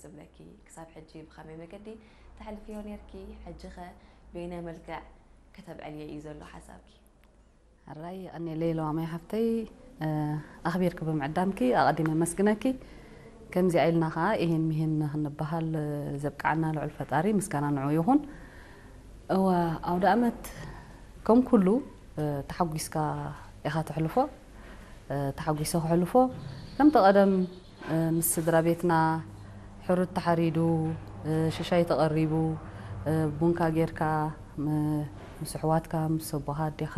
ዝብለኪ? ክሳብ ሕጂ ብኸመይ መገዲ ተሕልፍዮ ነርኪ? ሕጂ ኸ በየናይ መልክዕ ከተብዕልዮ እዩ ዘሎ ሓሳብኪ? ሕራይ ኣኔለይ ለዋማይ ሓፍተይ፣ ኣኽቢርኪ ብምዕዳምኪ ኣቐዲመ ኣመስግነኪ። ከምዚኣ ኢልና ኸዓ ኢሂን ምሂን ንኽንበሃል ዘብቅዓና ልዑል ፈጣሪ ምስጋና ንዑ ይኹን። እወ፣ ኣውደ ኣመት ከም ኩሉ ተሓጒስካ ኢኻ ተሕልፎ። ተሓጒሰ ክሕልፎ ከምቲ ቀደም ምስ ስድራ ቤትና ሕሩድ ተሓሪዱ፣ ሽሻይ ተቐሪቡ፣ ቡንካ ጌርካ ምስ ኣሕዋትካ ምስ ኣቦኻ ኣዴኻ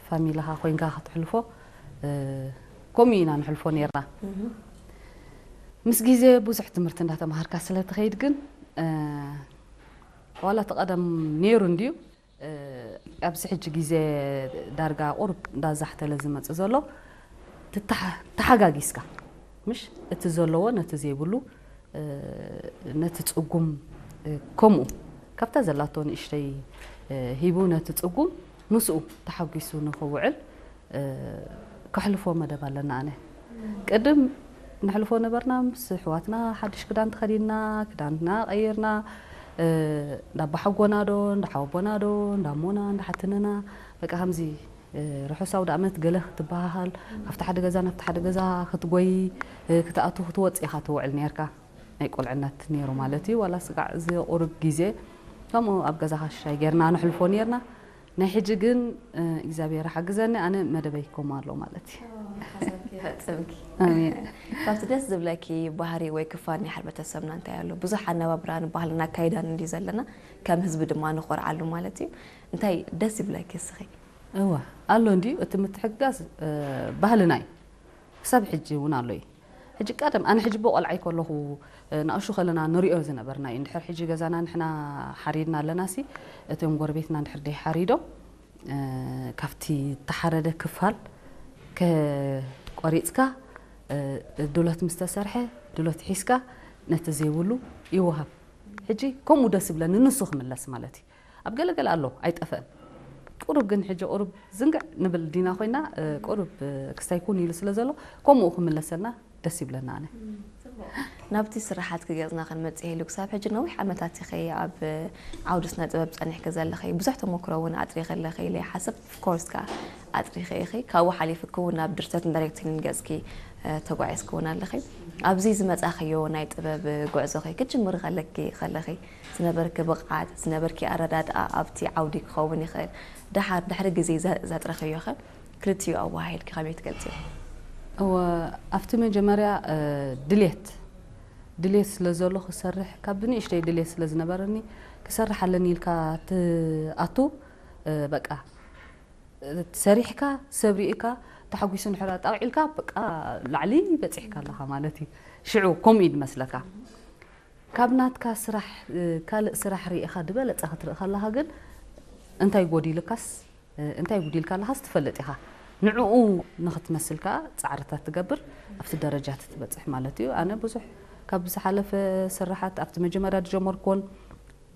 ፋሚልኻ ኮይንካ ክትሕልፎ ከምኡ ኢና ንሕልፎ ነርና። ምስ ግዜ ብዙሕ ትምህርቲ እንዳተምሃርካ ስለ ትኸይድ ግን ዋላ እቲ ቀደም ነይሩ እንድዩ። ኣብዚ ሕጂ ግዜ ዳርጋ ቁሩብ እንዳዛሕተለ ዝመጽእ ዘሎ ተሓጋጊዝካ ምሽ እቲ ዘለዎ ነቲ ዘይብሉ ነቲ ጽጉም ከምኡ ካብታ ዘላቶ ንእሽተይ ሂቡ ነቲ ጽጉም ምስኡ ተሓጒሱ ንኽውዕል ከሕልፎ መደብ ኣለና። ኣነ ቅድም ንሕልፎ ነበርና ምስ ኣሕዋትና ሓድሽ ክዳን ተኸዲንና ክዳንና ቀይርና እንዳባሓጎና ዶ እንዳሓወቦና ዶ እንዳሞና እንዳሓትንና በቃ ከምዚ ርሑስ ኣውደ ኣመት ገለ ክትበሃሃል ካብቲ ሓደ ገዛ ናብቲ ሓደ ገዛ ክትጎይ ክትኣቱ ክትወፅእ ኢኻ ትውዕል ነርካ። ናይ ቁልዕነት ነይሩ ማለት እዩ። ዋላ ስጋዕ እዚ ቁሩብ ግዜ ከምኡ ኣብ ገዛኻ ሽሻይ ጌርና ንሕልፎ ነርና። ናይ ሕጂ ግን እግዚኣብሔር ሓግዘኒ ኣነ መደበይ ከምኡ ኣሎ ማለት እዩ። ሓሳብኪ ፈጽምኪ ኣሜን። ካብቲ ደስ ዝብለኪ ባህሪ ወይ ክፋል ናይ ሕብረተሰብና እንታይ ኣሎ? ብዙሕ ኣነባብራን ባህልና ኣካይዳን እንዲ ዘለና ከም ህዝቢ ድማ ንኾርዓሉ ማለት እዩ። እንታይ ደስ ይብለኪ እስኺ? እወ ኣሎ እንድዩ እቲ ምትሕግጋዝ ባህልና እዩ። ክሳብ ሕጂ እውን ኣሎ እዩ። ሕጂ ቀደም ኣነ ሕጂ ብቆልዓይ ከለኹ ንኣሹ ከለና ንሪኦ ዝነበርና እዩ። እንድሕር ሕጂ ገዛና ንሕና ሓሪድና ኣለና ሲ እቶም ጎረቤትና እንድሕር ደይ ሓሪዶም ካብቲ ተሓረደ ክፋል ቆሪፅካ ድሎት ምስ ተሰርሐ ድሎት ሒዝካ ነቲ ዘይብሉ ይወሃብ። ሕጂ ከምኡ ደስ ይብለኒ ንሱ ክምለስ ማለት እዩ። ኣብ ገለገለ ኣሎ ኣይጠፍእን። ቁሩብ ግን ሕጂ ቁሩብ ዝንግዕ ንብል ዲና ኮይና ቁሩብ ክስታይ ኩን ኢሉ ስለ ዘሎ ከምኡ ክምለሰልና ደስ ይብለና ኣነ። ናብቲ ስራሓት ክገጽና ክንመጽእ ኢሉ ክሳብ ሕጂ ነዊሕ ዓመታት ኢኺ ኣብ ዓውዲ ስነ ጥበብ ጸኒሕኪ ዘለኺ ብዙሕ ተመክሮ እውን ኣጥሪኺ ኣለኺ ኢለ ይሓስብ። ኦፍኮርስ ከኣ ኣጥሪኺ ኢኺ ካብኡ ሓሊፍኪ እውን ናብ ድርሰትን ዳይሬክቲንግን ገጽኪ ተጓዒዝኪ እውን ኣለኺ። ኣብዚ ዝመጻኽዮ ናይ ጥበብ ጉዕዞኺ ክትጅምሪ ከለኪ ከለኺ ዝነበርኪ ብቕዓት ዝነበርኪ ኣረዳድኣ ኣብቲ ዓውዲ ክኸውን ይኽእል። ደሓር ድሕሪ ግዜ ዘጥረኽዮ ኸ ክልቲኡ ኣወሃሂድኪ ከመይ ትገልጽዮ? እወ ኣብቲ መጀመርያ ድሌት ድሌት ስለ ዘሎ ክሰርሕ ካብ ብንእሽተይ ድሌት ስለ ዝነበረኒ ክሰርሕ ኣለኒ ኢልካ ትኣቱ በቃ ሰሪሕካ ሰብ ርኢካ ተሓጒሱ ንሕራ ጣውዒልካ በቃ ላዕሊ በፂሕካ ኣለኻ ማለት እዩ። ሽዑ ከምኡ እዩ ዝመስለካ። ካብ ናትካ ስራሕ ካልእ ስራሕ ርኢኻ ዝበለፀ ክትርኢ ከለኻ ግን እንታይ ጎዲልካስ እንታይ ጉዲልካ ኣለኻስ ትፈልጥ ኢኻ። ንዕኡ ንኽትመስል ከዓ ፃዕርታት ትገብር ኣብቲ ደረጃ ትትበፅሕ ማለት እዩ። ኣነ ብዙሕ ካብ ዝሓለፈ ስራሓት ኣብቲ መጀመርያ ዝጀመርኩዎን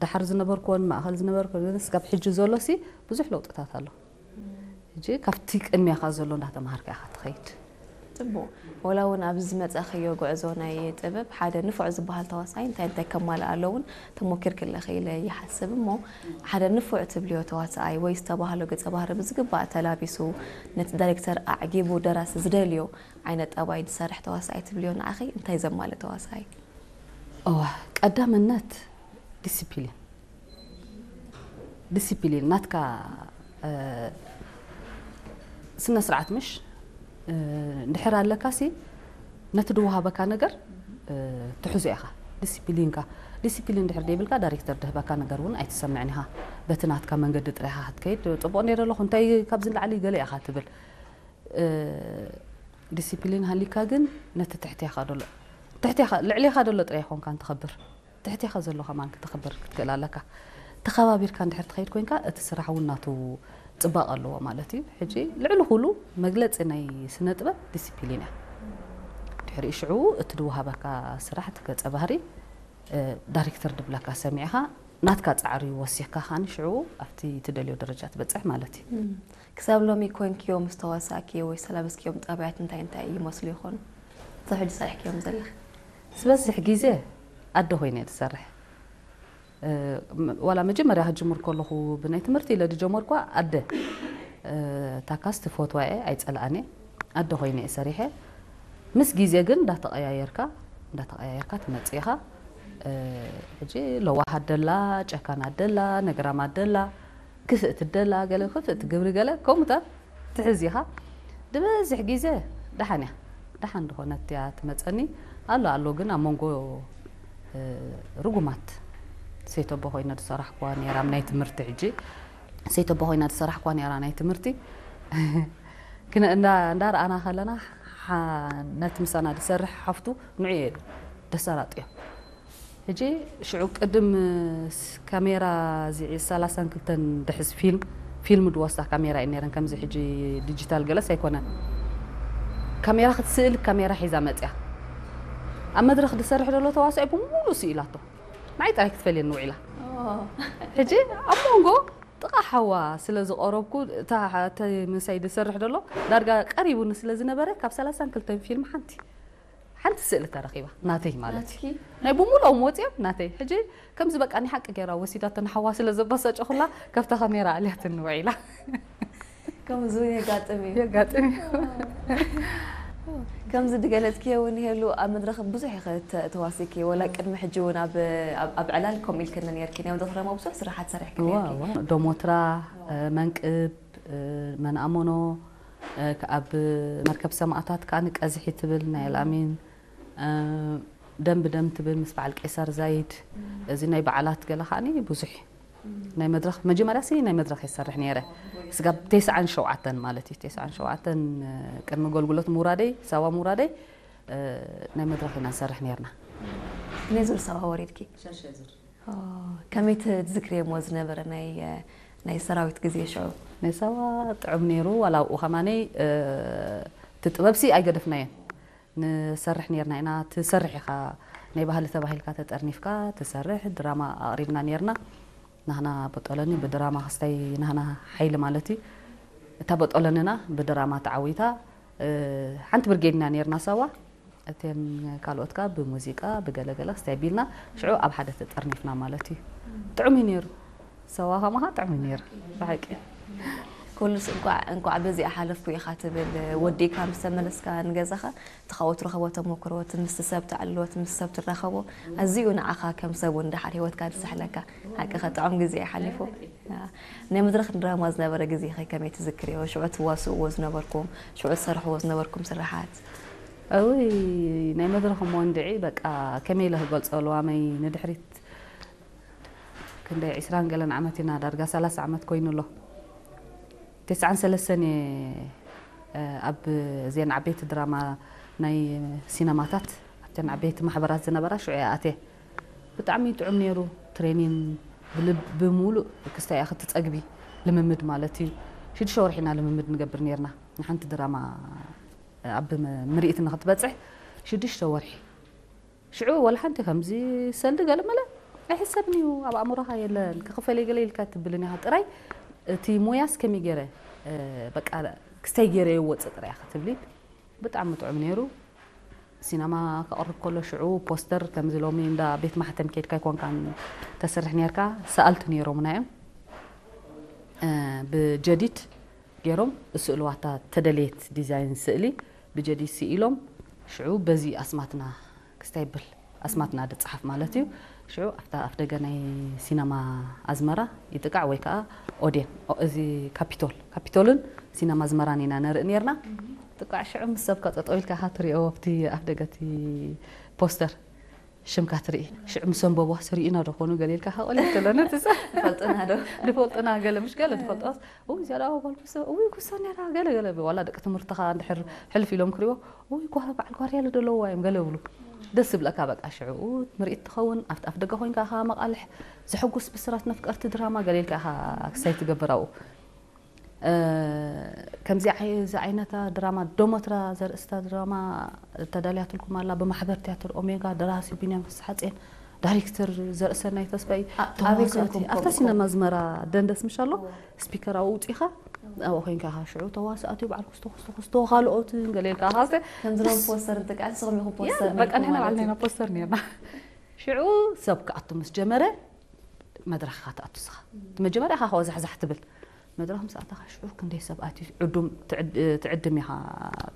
ዳሓር ዝነበርኩዎን ማእኸል ዝነበርኩ ስጋብ ሕጂ ዘሎ ሲ ብዙሕ ለውጥታት ኣሎ። ሕጂ ካብቲ ቅድሚያኻ ዘሎ እንዳተምሃርካ ኢኻ ትኸይድ። ጽቡቕ። ወላ እውን ኣብዚ ዝመጻእኽዮ ጉዕዞ ናይ ጥበብ ሓደ ንፉዕ ዝበሃል ተዋሳኣይ እንታይ እንታይ ከማልእ ኣለዎ እውን ተሞኪርኪ ኣለኺ ኢለ ይሓስብ እሞ ሓደ ንፉዕ ትብልዮ ተዋሳኣይ ወይ ዝተባህሎ ገጸ ባህሪ ብዝግባእ ተላቢሱ ነቲ ዳይሬክተር ኣዕጊቡ ደራሲ ዝደልዮ ዓይነት ጠባይ ዝሰርሕ ተዋሳኣይ ትብልዮ ንዓኺ እንታይ ዘማልእ ተዋሳኣይ? እዋ ቀዳምነት ዲሲፕሊን ዲሲፕሊን ናትካ ስነ ስርዓት ምሽ እንድሕር ኣለካ ሲ ነቲ ድወሃበካ ነገር ትሕዞ ኢኻ። ዲሲፕሊንካ ዲሲፕሊን እንድሕር ደይብልካ ዳይሬክተር ድህበካ ነገር እውን ኣይትሰምዕን ኢኻ። በቲ ናትካ መንገዲ ጥራይኻ ክትከይድ ጽቡቕ ነይረ ኣለኹ እንታይ ካብዚ ንላዕሊ ገለ ኢኻ ትብል። ዲሲፕሊን ሃሊካ ግን ነቲ ትሕቴኻ ደሎ ትሕቴኻ ልዕሌኻ ደሎ ጥራይ ይኾንካ ንትኸብር ትሕቴኻ ዘሎ ከማን ክትኽብር ክትክእል ኣለካ። ተኸባቢርካ እንድሕር ትኸይድ ኮይንካ እቲ ስራሕ እውን ናቱ ፅባቐ ኣለዎ ማለት እዩ። ሕጂ ልዕሊ ኩሉ መግለፂ ናይ ስነ ጥበብ ዲሲፕሊን እያ። ድሕሪኡ ሽዑ እቲ ድወሃበካ ስራሕ እቲ ገፀ ባህሪ ዳይሬክተር ድብለካ ሰሚዕኻ ናትካ ፃዕሪ ወሲኽካ ከዓኒ ሽዑ ኣብቲ ትደልዮ ደረጃ ትበፅሕ ማለት እዩ። ክሳብ ሎሚ ኮንክዮ ምስ ተዋሳእክዮ ወይ ዝተላበስክዮም ጠባያት እንታይ እንታይ ይመስሉ ይኾኑ? ክሳብ ሕጂ ሰሪሕክዮም ዘለኺ? ዝበዝሕ ግዜ ኣደ ኮይነ እየ ዝሰርሕ። እ፣ ም-፣ ዋላ መጀመርያ ክጅምር ከለኹ ብናይ ትምህርቲ ኢለ ዝጀመርኳ ኣደ፣ እ፣ ታካስ ትፈትዋ እየ፣ ኣይጸልኣን እየ። ኣደ ኮይነ እየ ሰሪሐ። ምስ ግዜ ግን እንዳተቐያየርካ፣ እንዳተቐያየርካ ትመጽእ ኢኻ። እ፣ ሕጂ ለዋህ ኣደላ፣ ጨካን ኣደላ፣ ነግራም ኣደላ፣ ክፍእቲ ኣደላ፣ ገለ ክፍእቲ ግብሪ ገለ ከምኡታት ትሕዝ ኢኻ። ዝበዝሕ ግዜ ደሓን እያ። ደሓን ዝኾነት እያ ትመጸኒ። ኣሎ ኣሎ ግን ኣብ መንጎ፣ እ፣ ርጉማት ሰይተቦ ኮይነ ዝሰራሕኩዋ ነይራ፣ ኣብ ናይ ትምህርቲ ሕጂ ሰይተቦ ኮይና ዝሰራሕኩዋ ነይራ ናይ ትምህርቲ። ክነ-፣ እንዳ-፣ እንዳረኣና ከለና ሓ-፣ ነቲ ምሳና ዝሰርሕ ሓፍቱ ንዑ እየ ደሳላጥዮ። ሕጂ ሽዑ ቅድም ስ-፣ ካሜራ እዚ ሰላሳን ክልተን ድሕዝ ፊልም፣ ፊልም ድወስዳ ካሜራ እዩ ነይረን፣ ከምዚ ሕጂ ዲጂታል ገለስ ኣይኮነን። ካሜራ ክትስእል ካሜራ ሒዛ መጽያ። ኣብ መድረኽ ዝሰርሕ ዘሎ ተዋሳኢ ብምሉእ ስኢላቶ። ንዓይ ጥራይ ክትፈልየኒ ውዒላ። ሕጂ ኣብ መንጎ ጥቓ ሓዋ ስለ ዝቐረብኩ፣ እታ ሓ-፣ እቲ ምሳይ ዝሰርሕ ዘሎ ዳርጋ ቀሪቡኒ ስለ ዝነበረ፣ ካብ ሰላሳን ክልተን ፊልም ሓንቲ፣ ሓንቲ ስእሊ ተረኺባ፣ ናተይ ማለት እዩ። ናትኪ? ናይ ብምሉኦም ወፂኦም ናተይ። ሕጂ ከምዚ በቃ ናይ ሓቂ ገይራ ወሲዳቶ፣ ንሓዋ ስለ ዘባሳጨኹላ፣ ካብታ ካሜራ ኣልያትኒ ውዒላ። ከምዚ እውን የጋጥም እዩ። የጋጥም እዩ። ከምዚ ድገለጽክዮ እውን ይሄሉ ኣብ መድረኽ ብዙሕ ኢኸ ተ-፣ ተዋሲኪ፣ ወላ ቅድሚ ሕጂ እውን ኣብ፣ ኣብ፣ ኣብ ዕላል ከምኡ ኢልክኒ ነርኪ። ናይ መድረኽ ድማ ብዙሕ ስራሓት ሰሪሕኪ እዋ፣ ነርኪ። እዋ። ዶሞትራ፣ እ፣ መንቅብ፣ እ፣ መንኣሞኖ፣ እ፣ ከ-፣ ኣብ መርከብ ሰማእታት ከኣ ቀዝሒ ትብል ናይ ኣልኣሚን፣ እ፣ ደም ብደም ትብል ምስ በዓል ቄሳር ዛይድ፣ እዚ ናይ በዓላት ገለ ከኣ ብዙሕ ናይ መድረኽ፣ መጀመርያ ሲ ናይ መድረኽ ይሰርሕ ነይረ። ስጋብ ተስዓን ሸውዓተን ማለት እዩ። ተስዓን ሸውዓተን ቅድሚ ኣገልግሎት ምውራደይ፣ ሳዋ ምውራደይ፣ እ፣ ናይ መድረኽ ኢና ንሰርሕ ነይርና። ክንደይ ዙር ሳዋ ወሪድኪ? ሸድሻይ ዙር። ኦ፣ ከመይ ት-፣ ትዝክርዮ እሞ ዝነበረ ናይ፣ ናይ ሰራዊት ግዜ ሽዑ? ናይ ሳዋ ጥዑም ነይሩ፣ ዋላ ኣብኡ ከማነይ፣ እ፣ እቲ ጥበብሲ ኣይገደፍናዮን። ንሰርሕ ነይርና ኢና። ትሰርሕ ኢኻ፣ ናይ ባህሊ ተባሂልካ ተጠርኒፍካ ትሰርሕ፣ ድራማ ኣቕሪብና ነይርና። ናህና በጦለኒ ብድራማ ክስታይ ናህና ሓይሊ ማለት እዩ። እታ በጦለንና ብድራማ ተዓዊታ፣ እ፣ ሓንቲ ብርጌድ ኢና ነይርና ሳዋ። እተን ካልኦት ከኣ ብሙዚቃ፣ ብገለገለ ክስታይ ቢልና፣ ሽዑ ኣብ ሓደ ተጠርኒፍና ማለት እዩ። ጥዑም እዩ ነይሩ። ሳዋ ከማኻ ጥዑም እዩ ነይሩ፣ ብሓቂ። ኩሉስ እንቋዕ፣ እንቋዕ በዚኣ ሓለፍኩ ኢኻ ትብል፣ ወዲእካ ምስ ተመለስካ ንገዛኻ፣ እቲ ካብኡ ትረኽቦ ተመክሮ፣ እቲ ምስቲ ሰብ ተዕልሎ፣ እቲ ምስ ሰብ ትራኸቦ፣ ኣዝዩ ንዓኻ ከም ሰብ እውን ደሓር ህይወትካ ዝስሕለካ። ሓቅኻ ጥዑም ግዜ እዩ ሓሊፉ። ናይ መድረኽ ድራማ ዝነበረ ግዜኸ ከመይ ትዝክርዮ? ሽዑ ትዋስእዎ ዝነበርኩም፣ ሽዑ ትሰርሕዎ ዝነበርኩም ስራሓት? እውይ፣ ናይ መድረኽ እሞ እንድዒ፣ በቃ፣ ከመይ ኢለ ክገልጾ፣ ለዋመይ ንድሕሪት ክንደይ ዒስራን ገለን ዓመት ኢና፣ ዳርጋ ሰላሳ ዓመት ኮይኑ ኣሎ። ተስዓን ሰለስተን እየ፣ እ፣ ኣብ እዘን ዓበይቲ ድራማ ናይ ሲነማታት፣ ኣብተን ዓበይቲ ማሕበራት ዝነበራ ሽዑ እየ ኣትየ። ብጣዕሚ ጥዑም ነይሩ። ትሬኒን ብልብ-፣ ብምሉእ ክስታይ እያ ክትጸግቢ፣ ልምምድ ማለት እዩ። ሽዱሽተ ወርሒ ኢና ልምምድ ንገብር ነይርና። ንሓንቲ ድራማ ኣብ ም-፣ ምርኢት ንክትበጽሕ ሽዱሽተ ወርሒ። ሽዑ ወላ ሓንቲ ከምዚ ሰልዲ ገለ መለ ኣይሕሰብን እዩ፣ ኣብ ኣእምሮኻ የለን። ክኽፈለይ ገለ ኢልካ ትብልን ኢኻ ጥራይ። እቲ ሞያስ ከመይ ገይረ፣ እ፣ በቃ ክስታይ ገይረ የወጽእ ጥራይ ኢኻ ትብሊ። ብጣዕሚ ጥዑም ነይሩ። ሲነማ ከቕርብ ከሎ ሽዑ ፖስተር ከምዚ ሎሚ እንዳ ቤት ማሕተም ኬድካ ኣይኮንካን ተስርሕ ነይርካ፣ ሰኣልቲ ነይሮምና እዮም። እ፣ ብጀዲድ ገይሮም እስእልዋታ ተደልየት ዲዛይን ስእሊ ብጀዲድ ስኢሎም ሽዑ በዚ ኣስማትና ክስታይ ብል ኣስማትና ድጸሓፍ ማለት እዩ። ሽዑ ኣብታ ኣፍደገ ናይ ሲነማ ኣዝመራ ይጥቃዕ ወይ ከኣ ኦዴን፣ ኦ-፣ እዚ ካፒቶል፣ ካፒቶልን ሲነማ ኣዝመራን ኢና ነርኢ ነይርና። ጥቃዕ ሽዑ ምስ ሰብካ ጠጠው ኢልካ ኢኻ ትሪኦ ኣብቲ ኣፍደገ እቲ ፖስተር። ሽምካ ትርኢ። ሽዑ ምስ ኣንበብዋ፣ "ስሪእና ዶ ኾኑ?" ገለ ኢልካ፣ ሃቆል እያ ትብለኒ፣ ትሳ-፣ ይፈልጡና ዶ? ዝፈልጡና ገለ፣ ምሽ ገለ ዝፈልጦስ፣ "እው፣ እዚኣ ደኣ ጓል ኩሶ፣ እው፣ ኩሶ ነይራ፣ ገለ፣ ገለ" ዋላ ደቂ ትምህርትኻ እንድሕር ሕልፍ ኢሎም ክሪእዎ፣ "እው፣ ጓል በዓል ጓርያለ ዶ ኣለውዋ እዮም?" ገለ ይብሉ። ደስ ዝብለካ በቃ ሽዑ ምርኢት ትኸውን፣ ኣብቲ ኣፍ ደገ ኮይንካ ኢኻ መቓልሕ፣ ዘሐጉስ ብስራት ነፍቀርቲ ድራማ ገለ ኢልካ ኢኻ ክሳይ ትገብር ኣብኡ። እ፣ ከምዚ ዓይ-፣ እዚ ዓይነታ ድራማ ዶሞትራ ዘርእስታ ድራማ ተዳልያትልኩም ኣላ። ብማሕበር ትያትር ኦሜጋ፣ ደራሲ ቢንያም ፍስሓጽዮን፣ ዳይሬክተር ዘርእሰናይ ተስፋይ፣ ኣ-፣ ኣበይ ተዋሳእቲ ኮንኩም ኣብታ ከምኡ ሲነማ ኮንኩም? ኣዝመራ ደንደስ ምሽ ኣሎ፣ እዎ። ስፒከር ኣብኡ ውጺኻ፣ ኣብኡ ኮይንካ ኢኻ ሽዑ ተዋሳእቲ በዓል ኩስቶ፣ ኩስቶ፣ ኩስቶ፣ ካልኦትን ገለ ኢልካ ኢኻ። ከምዚ ሎም ደስ ፖስተር እንጥቃዕ፣ ንስኹም ኢኹም ያ፣ ፖስተር በቃ ነይርኩም ንሕና ማለት ባዕልና እዩ። ኢና ፖስተር ነይርና። ሽዑ ሰብ ክኣቱ ምስ ጀመረ መድረኽ ኢኻ ትኣቱ ንስኻ። እቲ መጀመርያ ኢኻ ከወዛሕዛሕ ትብል። መድረኽ ምስ ኣተኻ ሽዑ ክንደይ ሰብ ኣትዩ ዕዱም ትዕድ-፣ ትዕድም ኢኻ፣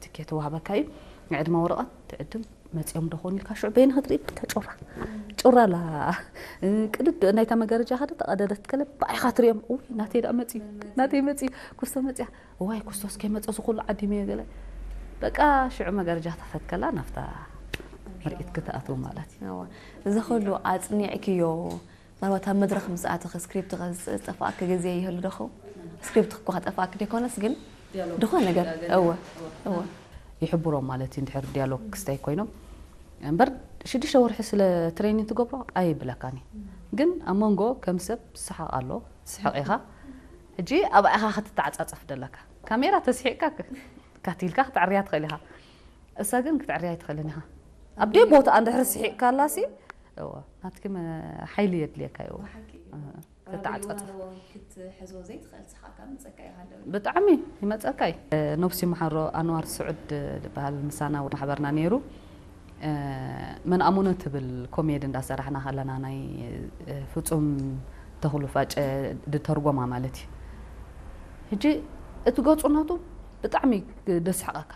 ትኬት ተዋህበካ እዩ። ናይ ዕድመ ወረቐት ትዕድም፣ መጺኦም ዶ ኾን ኢልካ ሽዑ በይንኻ ትርኢ፣ በቃ ጩራ። ጩራ ኣላ። ቅድድ ናይታ መጋረጃ ኸደ ተቐደደት ከለ ብኣይኻ ትሪኦም። ውይ ናተይ ደኣ መጺ፣ ናተይ መጺ፣ ኩስቶ መጺያ። እዋይ ኩስቶስ ከይመጸ እዚ ኩሉ ዓዲመዮ ገለ። በቃ ሽዑ መጋረጃ ተፈትከላ ናብታ ምርኢት ክትኣትው ማለት እዩ። እዋ፣ እዚ ኩሉ ኣጽኒዕክዮ፣ ምናልባት ኣብ መድረኽ ምስ ኣተኺ ስክሪፕት ከ ዝጠፍኣኪ ግዜ ይህሉ ዶ ኸውን? ስክሪፕት እኳ ከጠፍኣኪ ዘይኮነስ ግን ድኾነ ነገር፣ እወ፣ እወ። ይሕብሮም ማለት እዩ፣ እንድሕር ዲያሎግ ክስታይ ኮይኖም። እምበር ሽዱሽተ ወርሒ ስለ ትሬኒንግ ትገብሮ ኣይብለካን እዩ። ግን ኣብ መንጎ ከም ሰብ ትስሓቕ ኣሎ፣ ትስሕቕ ኢኻ። ሕጂ ኣብኣ ኢኻ ክትተዓጻጸፍ ደለካ። ካሜራ ተስሒቕካ ክ-፣ ካቲልካ ክትዕርያ ትኽእል ኢኻ። እሳ ግን ክትዕርያ ኣይትኽእልን ኢኻ። ኣብ ደይ ቦታ እንድሕር ስሒቕካላሲ፣ እወ፣ ናትኪ መ-፣ ሓይሊ የድልየካ እዩ። ብሓቂ። እህ፣ ኣብ ክትዓጻጸፍ። ልዋን ክትሕዞ ዘይትኽእል ስሓቕ ካብ ምጸካ እዩ ሃለወ። ብጣዕሚ ይመጸካ እዩ። ነብሲ መሓሮ ኣንዋር ስዑድ ዝበሃል ምሳና ኣብ ማሕበርና ነይሩ። እ፣ መን ኣሞነ ትብል ኮሜዲ እንዳሰራሕና ከለና ናይ፣ እ፣ ፍጹም ተኽሉ ፋጨ ድተርጎማ ማለት እዩ። ሕጂ እቲ ገጹ ናቱ ብጣዕሚ ደስሕቐካ።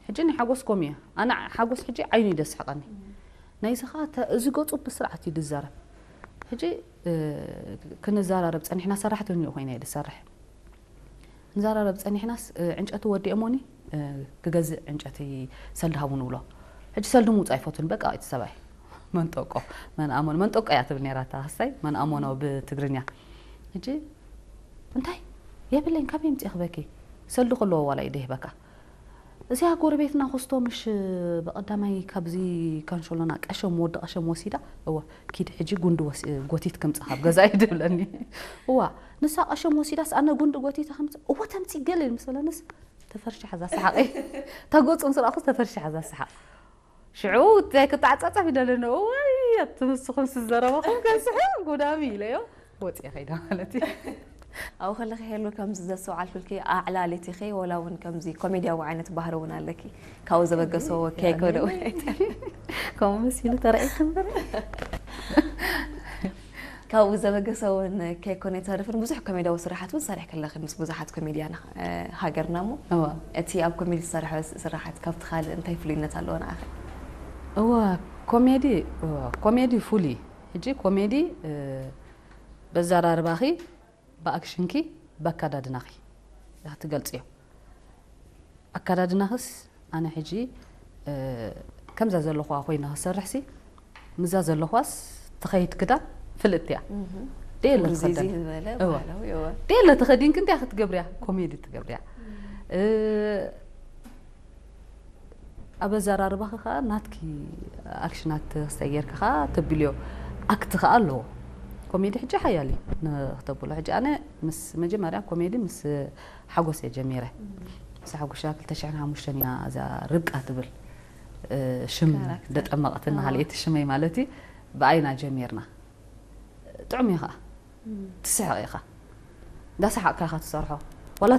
ሕጂ ናይ ሓጎስ ከምኡ እያ። ኣነ ሓጎስ ሕጂ ዓይኑ እዩ ደስሕቐኒ። ናይዚ ኸኣ ተ-፣ እዚ ገጹ ብስርዓት እዩ ዝዛረብ። ሕጂ፣ እ፣ ክንዘራረብ ጸኒሕና፣ ሰራሕተኛኡ ኮይነ እየ ዝሰርሕ። ንዘራረብ ጸኒሕናስ፣ እ፣ ዕንጨቲ ወዲኦሞኒ፣ እ፣ ክገዝእ ዕንጨቲ ሰልዲ ሃቡ ንብሎ። ሕጂ ሰልዲ ምውጻእ ኣይፈቱን፣ በቃ እቲ ሰብኣይ። መንጠቆ፣ መን ኣሞነ፣ መንጠቆ እያ ትብል ነይራ እታ ክስታይ፣ መን ኣሞነ ብትግርኛ። ሕጂ፣ እንታይ? የብለኝ፣ ካበይ ኣምጺኤ ክበኪ? ሰልዲ ከለዎ ዋላ እዩ ደይህበካ። እዚኣ ጎረቤትና ኮስቶ ምሽ በቐዳማይ ካብዚ ካንሸሎና ቀሸም፣ ወዲ ቀሸም ወሲዳ፣ እወ፣ ኪድ ሕጂ ጉንዲ ወስ-፣ ጎቲት ከምጽእ ካብ ገዛ እዩ ድብለኒ። እዋ፣ ንሳ ቀሸም ወሲዳስ ኣነ ጉንዲ ጎቲት ከምጽእ፣ እወ፣ ተምጺእ ገለ ምስ በለንስ፣ ተፈርሺሓ እዛ ሰሓቐይ። እታ ገጹ ምስ ረኣኹስ ተፈርሺሓ እዛ ሰሓቕ። ሽዑ እንታይ ክተዓጻጸፍ ይደለኒ፣ እዋይ፣ ኣቱም ንስኹም ዝዘረበኹም ከስሕቕ ጉዳሚ ኢለዮ፣ ወጺኤ ከይደ ማለት እዩ። ኣብኡ ከለኺ ሄሉ ከምዚ ዘስተውዓልኩልኪ ኣዕላሊት ኢኺ፣ ወላ እውን ከምዚ ኮሜድያዊ ዓይነት ባህሪ እውን ኣለኪ። ካብኡ ዘበገሰ ወኪ ኣይኮነ እውን ኣይተ-፣ ከምኡ መሲሉ ተራእየኪ እምበር። ካብኡ ዘበገሰ እውን ከይኮነ ኣይተርፍን፣ ብዙሕ ኮሜድያዊ ስራሓት እውን ሰሪሕኪ ኣለኺ ምስ ብዙሓት ኮሜድያን፣ እ፣ ሃገርና እሞ፣ እዋ። እቲ ኣብ ኮሜዲ ዝሰርሐ ስራሓት ካብቲ ካልእ እንታይ ፍሉይነት ኣለዎ ንዓኺ? እዋ፣ ኮሜዲ፣ እዋ፣ ኮሜዲ ፍሉይ። ሕጂ ኮሜዲ፣ እ፣ በዘራርባኺ፣ ብኣክሽንኪ፣ ብኣከዳድናኺ ኢኻ ትገልጽዮ። ኣከዳድናኽስ ኣነ ሕጂ፣ እ፣ ከምዛ ዘለኹዋ ኮይነ ክሰርሕሲ፣ ምዛ ዘለኹዋስ ትኸይድ ክዳን ፍልጥቲ እያ። እህ። ደየለ ውርዚዚ ትኸደን። ዝበለ እወ። ባህላዊ፣ እወ። ደየለ ተኸዲንኪ እንታይ ክትገብርያ? ኮሜዲ ትገብርያ። እ፣ ኣብ ኣዘራርባኺ ኸኣ ናትኪ ኣክሽናት ክስታይ ጌርኪ ኸኣ ተብልዮ። ኣክት ኸኣ ኣለዎ። ኮሜዲ ሕጂ ሓያል እዩ ንክተብሎ። ሕጂ ኣነ ምስ መጀመርያ ኮሜዲ ምስ ሓጎስ እየ ጀሚረ። ምስ ሓጎሻ ክልተ ሽሕን ሓሙሽተን ኢና እዛ ርብቃ ትብል፣ እ፣ ሽም ካራክተር። ደጠመቐትና፣ ኣዎ። ካልኣይቲ ሽመይ ማለት እዩ። ብኣይና ጀሚርና። ጥዑም እዩ ኸኣ። እም። ትስሕቕ ኢኻ። እንዳሰሓቕካ ኢኻ ትሰርሖ። ዋላ